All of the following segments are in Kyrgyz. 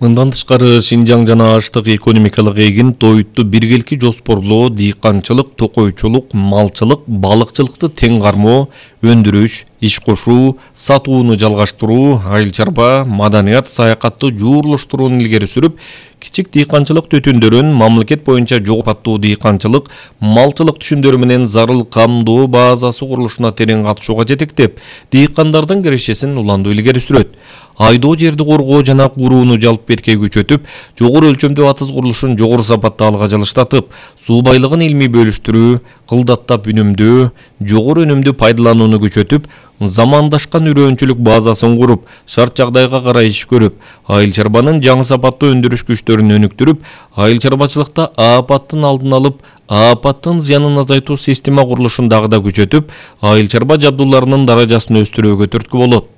Мындан тышкары Шинжаң жана аштык экономикалык эгин тоютту биргелики жоспорлоо, дыйканчылык, токойчулук, малчылык, балыкчылыкты тең кармоо, өндүрүш, иш кошуу, сатууну жалгаштыруу, айыл чарба, маданият, саякатты жуурлуштурууну илгери сүрүп, кичик дыйканчылык түтүндөрүн мамлекет боюнча жогорку сапаттуу дыйканчылык, малчылык түшүндөрү менен зарыл камдоо базасы курулушуна терең катышууга жетектеп, дыйкандардын кирешесин уландуу илгери сүрөт. Айдоо жерди коргоо жана курууну жалп бетке күчөтүп, жогору өлчөмдүү атыз курулушун жогору сапатта алга жылыштатып, суу байлыгын илмий бөлүштүрүү, кылдаттап үнөмдөө, жогору өнүмдү пайдаланууну күчөтүп, замандашкан үрөөнчүлүк базасын куруп, шарт жагдайга карай иш көрүп, айыл чарбанын жаңы сапаттуу өндүрүш күчтөрүн өнүктүрүп, айыл чарбачылыкта аапаттын алдын алып, аапаттын зыянын азайтуу система курулушун дагы да күчөтүп, айыл чарба жабдууларынын даражасын өстүрүүгө түрткү болот.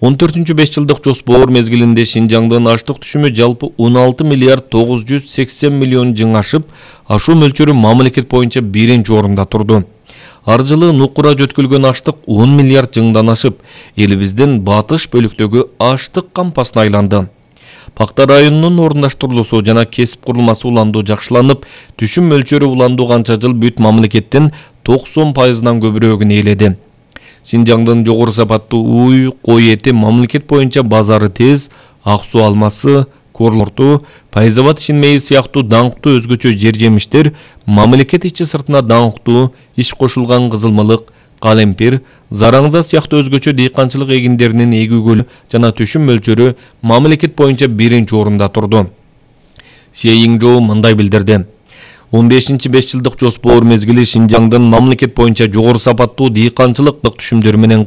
14-5 жылдык жоспор мезгилинде Шинжаңдын аштык түшүмү жалпы 16 миллиард 980 миллион жың ашып, ашуу мөлчөрү мамлекет боюнча биринчи орунда турду. Ар жылы нукура жөткүлгөн аштык 10 миллиард жыңдан ашып, элибиздин батыш бөлүктөгү аштык кампасына айланды. Пакта районунун орундаштырылуусу жана кесип курулмасы уландуу жакшыланып, түшүм мөлчөрү уландуу канча жыл бүт мамлекеттин 90%-нан көбүрөөгүн ээледи. Шинжаңдын жогору сапаттуу уй, кой эти мамлекет боюнча базары тез, ак суу алмасы, корлорту, Пайзабад Шинмейи сыяктуу даңктуу өзгөчө жер жемиштер мамлекет ичи сыртына даңктуу, иш кошулган кызылмылык, калемпир, зараңза сыяктуу өзгөчө дыйканчылык эгиндеринин эгүүгө жана түшүм мөлчөрү мамлекет боюнча биринчи орунда турду. Шейиңжоу мындай билдирди. 15-5 жылдык жоспор мезгили Шинжаңдын мамлекет боюнча жогору сапаттуу дыйканчылык түшүмдөрү менен